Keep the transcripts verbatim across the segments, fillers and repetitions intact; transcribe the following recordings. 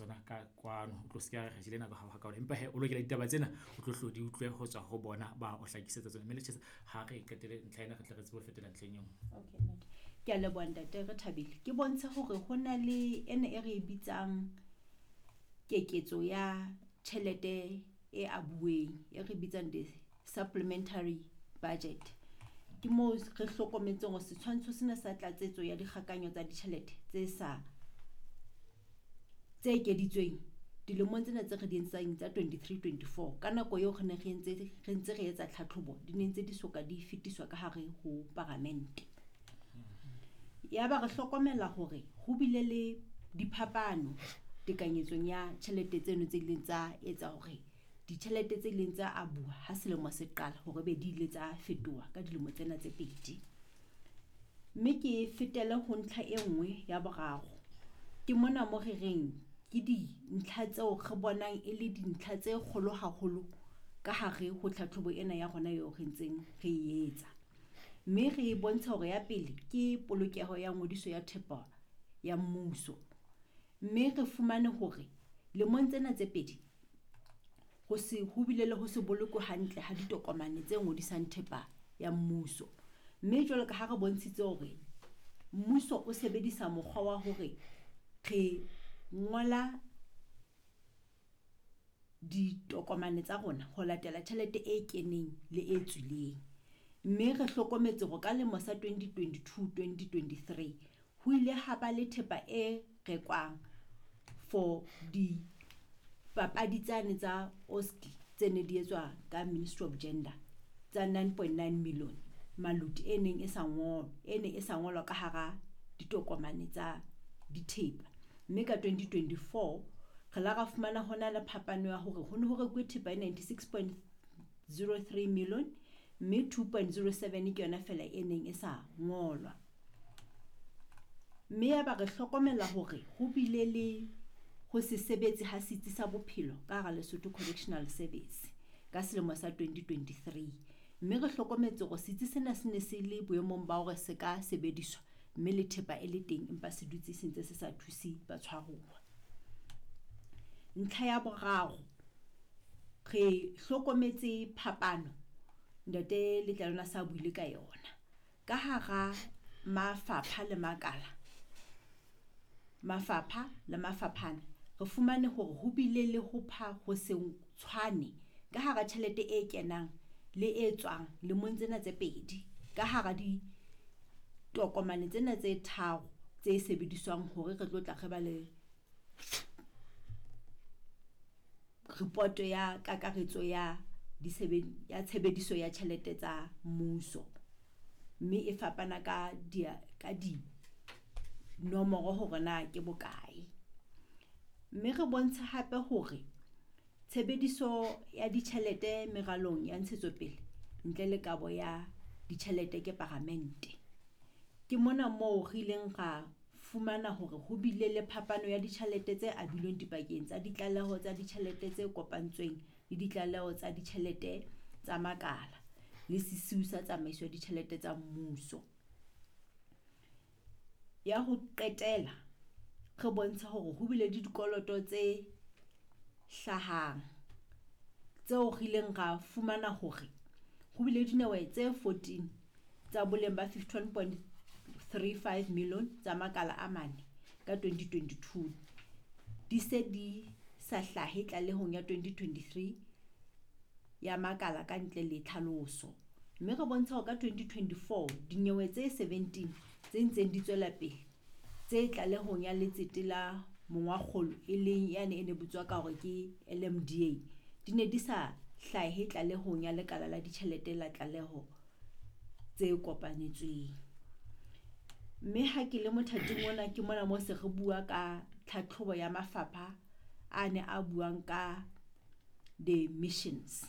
tsona ka kwano. O tlo se ke re jele nako ha ka empa he o lokela ditaba tsena o tlo hlo di utlwe ho tswa ho bona ba o hlakisetsa tsona. Mme Lechesa ha re qetele ntlha ena re tle re tsebe ho fetela ntlheng e nngwe. Okay, ntate. Ke a leboha ntate re thabile. Ke bontshe hore ho na le ena e re e bitsang keketso ya tjhelete e abuweng e re bitsang the supplementary budget. Ke moo re hlokometseng hore setshwantsho sena sa tlatsetso ya dikgakanyo tsa ditjhelete tse sa tse ekeditsweng dilemong tsena tse re di entseng tsa twenty-three twenty-four ka nako eo re ne re entse re ntse re etsa tlhatlhobo di ne ntse di soka di fetiswa ka hare ho paramente. Ya ba re hlokomela hore ho bile le diphapano tekanyetsong ya tjhelete tseno tse ileng tsa etsa hore ditjhelete tse ileng tsa abuwa ha selemo se qala hore be di ile tsa fetoha ka dilemo tsena tse pedi. Mme ke fetele ho ntlha e nngwe ya boraro. Ke mona mo re reng ke dintlha tseo re bonang e le dintlha tse kgolo haholo ka hare ho tlhatlhobo ena ya rona eo re ntseng re e etsa. Mme re bontsha hore ya pele ke polokeho ya ngodiso ya thepa ya mmuso. Mme re fumane hore lemong tsena tse pedi ho se ho bile le ho se bolokwe hantle ha ditokomane tse ngodisang thepa ya mmuso. Mme jwalo ka ha re bontshitse hore mmuso o sebedisa mokgwa wa hore re ngola ditokomane tsa rona ho latela tjhelete e keneng le e tswileng. Mme re hlokometse hore ka lemo sa twenty twenty-two twenty twenty-three ho ile ha ba le thepa e rekwang for dipapadi tsane tsa Oski tse ne di etswa ka Ministry of Gender tsa nine point nine million maluti e neng e sa ngolwa, e neng e sa ngolwa ka hara ditokomane tsa dithepa. Mme ka twenty twenty-four re la ra fumana hona le phapano ya hore ho ne ho rekuwe thepa e ninety-six point zero three million mme two point zero seven ke yona fela e neng e sa ngolwa. Mme ya ba re hlokomela hore ho bile le ho se sebetse ha setsi sa bophelo ka hara Lesotho Correctional Service ka selemo sa twenty twenty-three. Mme re hlokometse hore setsi sena se ne se le boemong ba hore se ka sebediswa mme le thepa e le teng empa se dutse se ntse se sa thuse batshwaruwa. Ntlha ya boraro, re hlokometse phapano ntate Letlalwana sa buile ka yona ka hara mafapha le makala, mafapha le mafaphana re fumane hore ho bile le ho pha ho se tshwane ka hara tjhelete e kenang le e tswang lemong tsena tse pedi ka hara ditokomane tsena tse tharo tse sebediswang hore re tlo tla re ba le report ya kakaretso ya ya tshebediso ya tjhelete tsa mmuso. Mme e fapana ka di ka di nomoro hore na ke bokae. Mme re bontsha hape hore tshebediso ya ditjhelete meralong ya ntshetsopele ntle le kabo ya ditjhelete ke paramente. Ke mona moo re ileng ra fumana hore ho bile le phapano ya ditjhelete tse abilweng dipakeng tsa ditlaleho tsa ditjhelete tse kopantsweng le ditlaleho tsa ditjhelete tsa makala le sesiu sa tsamaiso ya ditjhelete tsa mmuso. Ya ho qetela re bontsha hore ho bile le dikoloto tse hlahang tseo re ileng ra fumana hore ho bile dinyewe tse fourteen tsa boleng ba fifty-one point three five million tsa makala a mane ka twenty twenty-two di se di sa hlahe tlalehong ya twenty twenty-three ya makala ka ntle le tlhaloso. Mme re bontsha hore ka twenty twenty-four dinyewe tse seventeen tse ntseng di tswela pele tse tlalehong ya letsete la mongwakgolo e leng yane e ne bitswa ka hore ke L M D A di ne di sa hlahe tlalehong ya lekala la ditjhelete la tlaleho tse kopanetsweng. Mme ha ke le mothating ona ke mona mo se re bua ka tlhatlhobo ya mafapha a ne a buang ka the missions.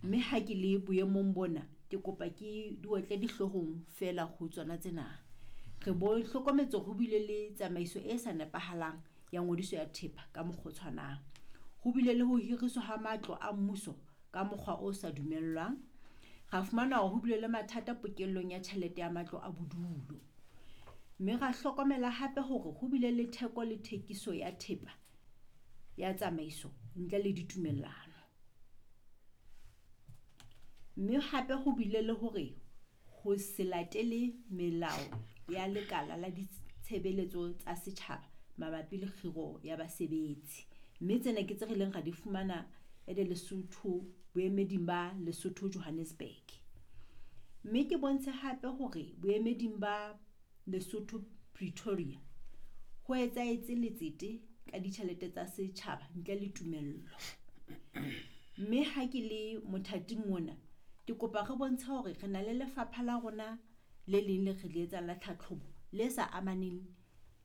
Mme ha ke le boemong bona ke kopa ke di otle dihloohong fela ho tsona tsena. Re bo hlokometse ho bile le tsamaiso e sa nepahalang ya ngodiso ya thepa ka mokgwa o tshwanang. Ho bile le ho hiriswa ha matlo a mmuso ka mokgwa o sa dumellwang. Ra fumana hore ho bile le mathata pokellong ya tjhelete ya matlo a bodulo. Mme ra hlokomela hape hore ho bile le theko le thekiso ya thepa ya tsamaiso ntle le ditumellano. Mme hape ho bile le hore ho se latele melao ya lekala la ditshebeletso tsa setjhaba mabapi le kgiro ya basebetsi. Mme tsena ke tse re ileng ra di fumana ede Lesotho boemeding ba Lesotho Johannesburg. Mme ke bontshe hape hore boemeding ba Lesotho Pretoria ho etsahetse letsete ka ditjhelete tsa setjhaba ntle le tumello. Mme ha ke le mothating ona, ke kopa re bontshe hore re na le lefapha la rona le leng le re le etsang la tlhatlhobo le sa amaneng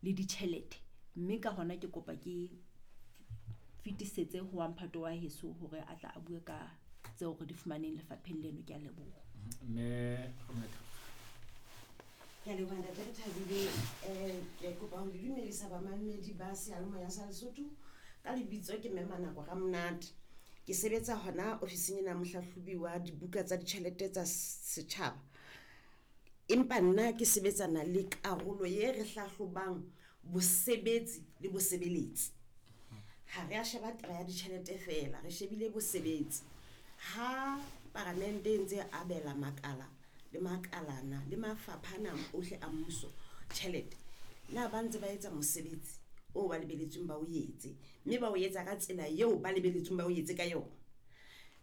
le ditjhelete. Mme ka hona ke kopa ke fetisetse ho wa mphato wa heso hore a tla a bue ka tseo re di fumaneng lefapheng leno. Ke a leboha. Mme Ramonate. Ke a leboha ntate Rethabile. Eh, ke kopa ho le dumedisa bamamedi ba seyalemoya sa Lesotho. Ka lebitso ke Mme Manako Ramonate. Ke sebetsa hona ofising ena ya mohlahlobi wa dibuka tsa ditjhelete tsa setjhaba. Empa nna ke sebetsana le karolo ye re hlahlobang bosebetsi le bosebeletsi. Ha re a sheba taba ya ditjhelete feela, re shebile bosebetsi. Ha paramente e ntse abela makala le makalana le mafapha ana ohle a mmuso tjhelete, na ba ntse ba etsa mosebetsi o ba lebeletsweng ba o etse, mme ba o etsa ka tsela eo ba lebeletsweng ba o etse ka yona.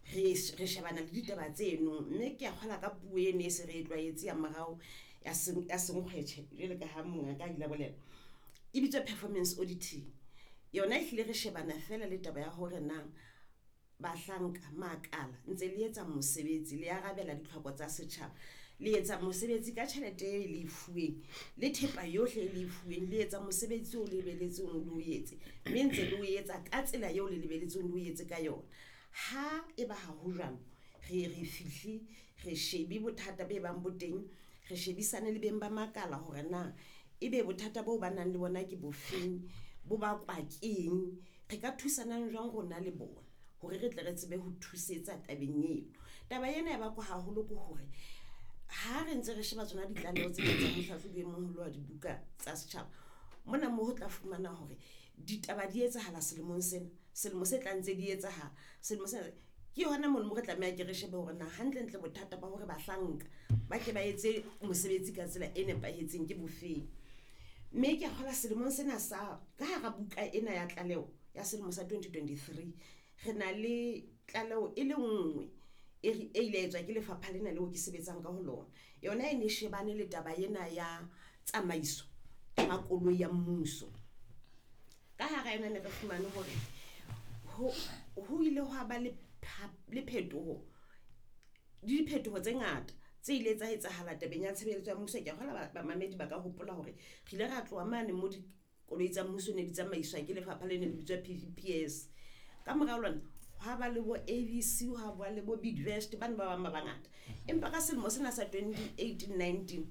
Re re shebana le ditaba tseno, mme ke a kgola ka puo eno e se re e tlwaetse ya morao ya ya senkgwetjhe jwalo ka ha mongaka a ile a bolela. E bitswa performance auditing. Yona ehlile re shebana feela le taba ya hore na bahlanka makala ntse le etsa mosebetsi, le arabela ditlhoko tsa setjhaba, le etsa mosebetsi ka tjhelete e le e fuweng le thepa yohle e le e fuweng, le etsa mosebetsi o lebeletsweng le o etse, mme ntse le o etsa ka tsela eo le lebeletsweng le o etse ka yona. Ha eba ha ho jwalo, re re fihle re shebe bothata be bang bo teng, re shebisane le beng ba makala hore na ebe bothata boo ba nang le bona ke bofeng, bo bakwa keng, re ka thusanang jwang rona le bona hore re tle re tsebe ho thusetsa tabeng eo. Taba ena e bakwa haholo ke hore ha re ntse re sheba tsona ditlaleho tsena tsa mohlahlobi e moholo wa dibuka tsa setjhaba, mona moo ho tla fumana hore ditaba di etsahala selemong sena, selemo se tlang ntse di etsahala, selemo sena ke hona mono mo re tlameha ke re shebe hore na hantlentle bothata ba hore bahlanka ba ke ba etse mosebetsi ka tsela e nepahetseng ke bofeng. Mme ke a kgolwa selemong sena sa ka hara buka ena ya tlaleho ya selemo sa twenty twenty-three, re na le tlaleho e le nngwe e re e ile etswa ke lefapha lena leo ke sebetsang ka ho lona. Yona e ne shebane le taba ena ya tsamaiso ya makoloi ya mmuso. Ka hara yona ne re fumane hore ho ho ile hwa ba le le phetoho, le diphetoho tse ngata tse ile tsa etsahala tabeng ya tshebeletso ya mmuso. Ke a kgolwa bamamedi ba ka hopola hore re ile ra tloha mane mo dikoloi tsa mmuso ne di tsamaiswa ke lefapha le ne le bitswa P V P S. Ka morao lona hwa ba le bo A V C, hwa ba le bo Bidvest, bana ba bang ba bangata. Empa ka selemo sena sa twenty eighteen nineteen,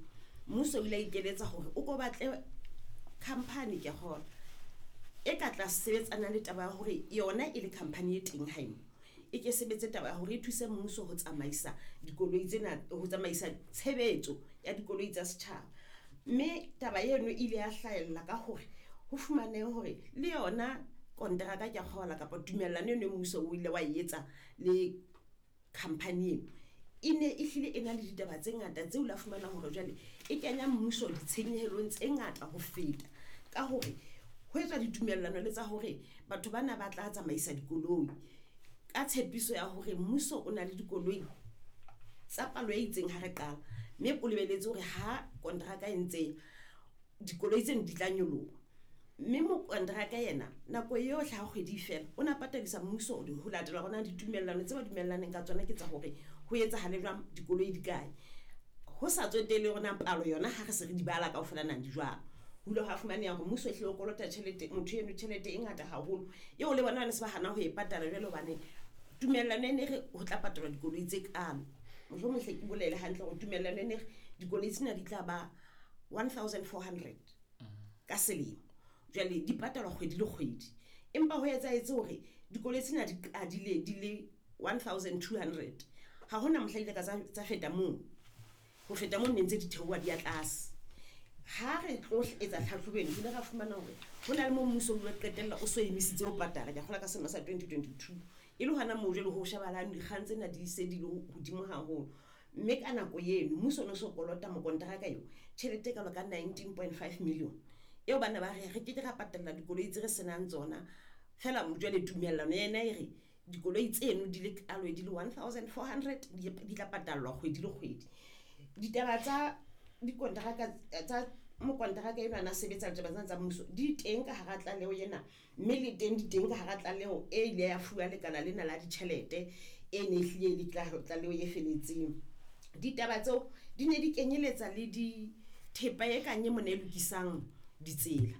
mmuso o ile a ikeletsa hore o ko batle company ke a kgolwa e ka tla sebetsana le taba ya hore yona e le company e teng haeno, e ke sebetse taba ya hore e thuse mmuso ho tsamaisa dikoloi tsena, ho tsamaisa tshebetso ya dikoloi tsa setjhaba. Mme taba eno e ile ya hlahella ka hore ho fumanehe hore le yona kontraka ke a kgolwa kapa tumellano eno mmuso o ile wa e etsa le company eno, e ne e hlile e na le ditaba tse ngata tseo la fumana hore jwale e kenya mmuso ditshenyehelong tse ngata ho feta, ka hore ho etswa ditumellano le tsa hore batho bana ba tla tsamaisa dikoloi ka tshepiso ya hore mmuso o na le dikoloi tsa palo e itseng ha re qala, mme o lebeletse hore ha kontraka e ntse dikoloi tseno di tla nyoloha. Mme mokontraka yena nako yohle ha kgwedi e fela o na patadisa mmuso ho latela hore na ditumellano tse ba dumellaneng ka tsona ke tsa hore ho etsahale jwang, dikoloi di kae, ho sa tsotelle hore na palo yona ha re se re di bala kaofela na di jwang. Ho ile hwa fumaneha hore mmuso ehlile o kolota tjhelete, motho eno tjhelete e ngata haholo eo le bona ba ne se ba hana ho e patala jwale, hobane tumellano e ne re ho tla patalwa dikoloi tse kalo. Mohlomong hle ke bolele hantle hore tumellano e ne re dikoloi tsena di tla ba one thousand four hundred ka selemo, jwale di patalwa kgwedi le kgwedi, empa ho etsahetse hore dikoloi tsena di qadile di le one thousand two hundred. Ha hona mohla ile ka tsa feta moo, ho feta moo ne ntse di theoha di ya tlase. Ha re tlo etsa tlhatlhobo eno, re ile ra fumana hore ho na le moo mmuso o ile wa qetella o so emisitse ho patala. Ke a kgolwa ka selemo sa twenty twenty-two. E le hona moo jwale ho shebahalang dikgang tsena di se di le hodimo haholo. Mme ka nako eno mmuso o no so kolota mokonteraka eo tjhelete e kalo ka nineteen point five million. Eo bana ba re re keke ra patalla dikoloi tse re senang tsona. Feela jwale tumellano yena e re dikoloi tseno di le kalo di le one thousand four hundred di, di tla patallwa kgwedi le kgwedi. Ditaba tsa dikonteraka tsa mokonteraka enwa a sebetsa ditaba tsena tsa mmuso di teng ka hara tlaleho ena, mme le teng di teng ka hara tlaleho e ile ya fuwa lekala lena la ditjhelete e ne ehlile e le tlaleho e feletseng. Ditaba tseo di ne di kenyeletsa le di thepa e kang e mona e lokisang ditsela.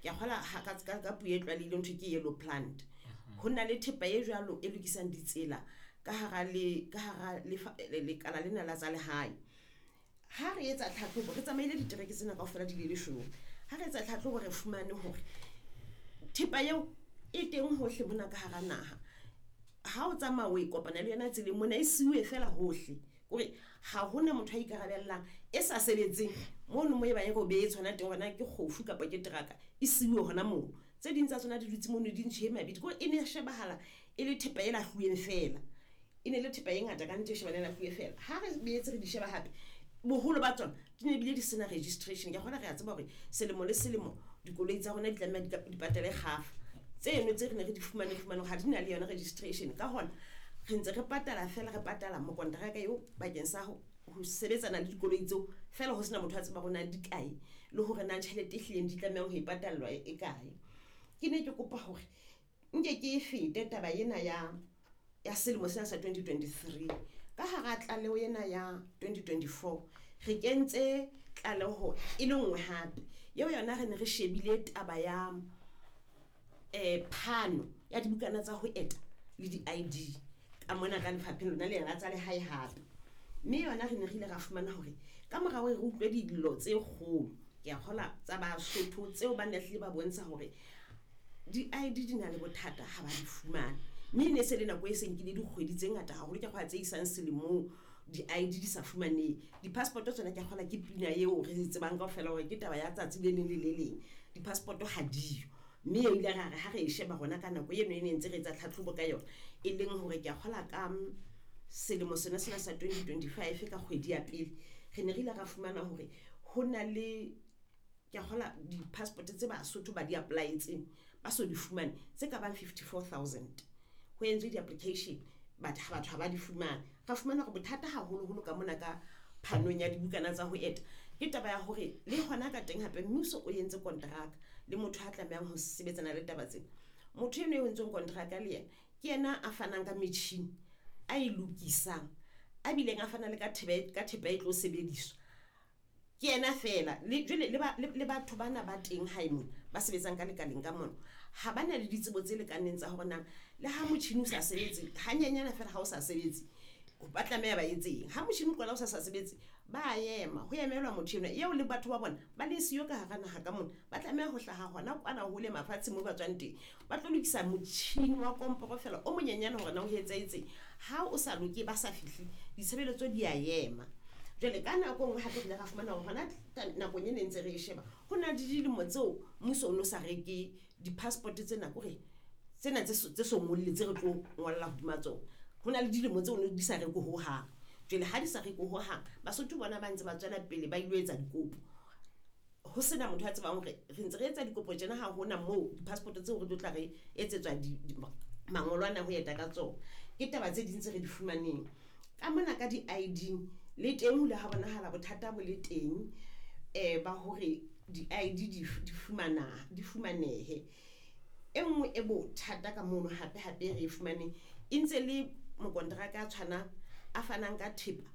Ke a kgolwa ha ka, ka, ka puo e tlwaelehileng ho thwe ke yellow plant. Ho na le thepa e jwalo e lokisang ditsela ka hara le, ka hara lefa, lekala lena la tsa lehae. Ha re etsa tlhatlhobo, re tsamaile ditereke tsena kaofela di le leshome. Ha re etsa tlhatlhobo re fumane hore thepa eo e teng hohle mona ka hara naha. Ha o tsamaya o e kopana le yona tseleng mona, e siuwe feela hohle. Kore ha hona motho a ikarabellang e sa sebetseng mono mo e bang e robetse hona teng, hore na ke kgofu kapa ke teraka, e siuwe hona moo. Tse ding tsa tsona di dutse mono di ntjhe mabidi. Kore e ne e shebahala e le thepa e lahluweng feela. E ne le thepa e ngata ka nnete e shebahala e lahluwe feela. Ha re boetse re di sheba hape, boholo ba tsona di ne bile di sena registration. Ke a kgolwa re a tseba hore selemo le selemo dikoloi tsa rona di tlameha di ka, di patale kgafa. Tseno tse re ne re di fumane, re fumane hore ha di na le yona registration. Ka hona re ntse re patala feela, re patala mokonteraka eo bakeng sa ho, ho sebetsana le dikoloi tseo feela, ho sena motho a tseba hore na di kae le hore na tjhelete e hlileng di tlamehang ho e patallwa e, e kae. Ke ne ke kopa hore nke ke e fete taba ena ya, ya selemo sena sa twenty twenty-three. Ka hara tlaleho ena ya twenty twenty-four re kentse tlaleho e le nngwe hape. Eo yona re ne re shebile taba ya, eh, phano ya dibukana tsa ho eta le di-I D ka mona ka lefapheng lona lena la tsa lehae hape. Mme yona re ne re ile ra fumana hore ka mora hore re utlwe dillo tse kgolo, ke a kgolwa tsa Basotho tseo ba ne hlile ba bontsha hore di-I D di na le bothata ha ba di fumane. Mme e ne se le nako e seng ke le dikgwedi tse ngata haholo, ke a kgolwa tse isang selemong di-I D di sa fumanehe. Di-passport tsona ke a kgolwa ke pina eo re e tsebang kaofela hore ke taba ya tsatsi le leng le le leng. Di-passport ha diyo. Mme e ile ra re ha re e sheba rona ka nako eno e ne ntse re etsa tlhatlhobo ka yona, e leng hore ke a kgolwa ka selemo sena sena sa twenty twenty-five ka kgwedi ya pele, re ne re ile ra fumana hore ho na le, ke a kgolwa di-passport tse Basotho ba di apply-etseng ba so di fumane tse ka bang fifty-four thousand. Ho entswe di-application, but ha batho ha ba di fumane. Ra fumana hore bothata haholoholo ka mona ka phanong ya dibukana tsa ho eta ke taba ya hore le hona ka teng hape mmuso o entse kontraka le motho a tlamehang ho sebetsana le taba tsena. Motho eno e entsweng kontraka le yena ke yena a fanang ka metjhini a e lokisang, a bileng a fana le ka thepa, ka thepa e tlo sebediswa. Ke yena feela. Le jwale le ba, le, le batho bana ba teng hae mona ba sebetsang ka lekaleng ka mona ha ba na le ditsebo tse lekaneng tsa hore na le ha motjhini o sa sebetse hanyenyana feela, ha o sa sebetse ba tlameha ba etseng. Ha motjhini o qala o sa sa sebetse ba ema, ho emelwa motho enwa eo le batho ba bona ba le siyo ka hara naha ka mona, ba tlameha ho hlaha hona kwana hole mafatshe moo ba tswang teng, ba tlo lokisa motjhini wa komporo feela o monyenyane hore na o etsahetseng. Ha o sa loke, ba sa fihle, ditshebeletso di a ema. Jwale ka nako e nngwe hape re ile ra fumana hore hona nakong e ne ntse re e sheba, ho na le dilemo tseo mmuso o no sa reke di-passport tsena, kore tsena tse so, tse so ngolle tse re tlo ngolla hodima tsona. Ho na le dilemo tseo di sa rekwe hohang. Jwale ha di sa rekwe hohang, Basotho bona ba ntse ba tswela pele ba ilo etsa dikopo. Ho sena motho a tsebang hore re ntse re etsa dikopo tjena, ha hona moo di-passport tseo re tlo tla re etsetswa di, di, mangolo ana ho eta ka tsona. Ke taba tse ding tse re di fumaneng. Ka mona ka di-I D le teng ho ile ha bonahala bothata bo le teng, eh, ba hore di-I D di, di fumana, di fumanehe. E nngwe e bothata ka mono hape hape re e fumaneng, e ntse le mokonteraka a tshwanang a fanang ka thepa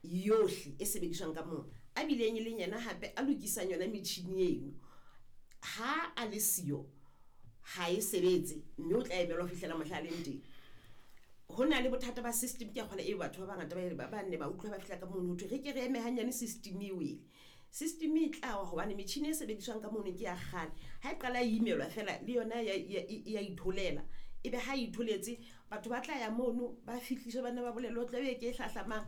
yohle e sebediswang ka moo, a bileng e leng yena hape a lokisang yona metjhini eno. Ha a le siyo ha e sebetse, mme o tla emelwa ho fihlela mohla a leng teng. Ho na le bothata ba system, ke a kgolwa eo batho ba bangata ba, ba, ba nne ba utlwa ba fihla ka mono ho thwe re ke re eme hanyane system e wele. System e tla wa hobane metjhini e sebediswang ka mono ke ya kgale. Ha e qala e imelwa feela le yona ya, ya, ya itholela. Ebe ha e itholetse, batho ba tla ya mono ba fihliswe, ba nne ba bolellwe ho tla be ke e hlahlamang.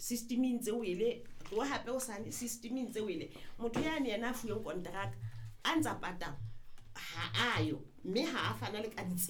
System e ntse wele, tloha hape hosane system e ntse wele. Motho yane yena a fuweng konteraka a ntsa patala ha ayo, mme ha a fana le ka ditsela.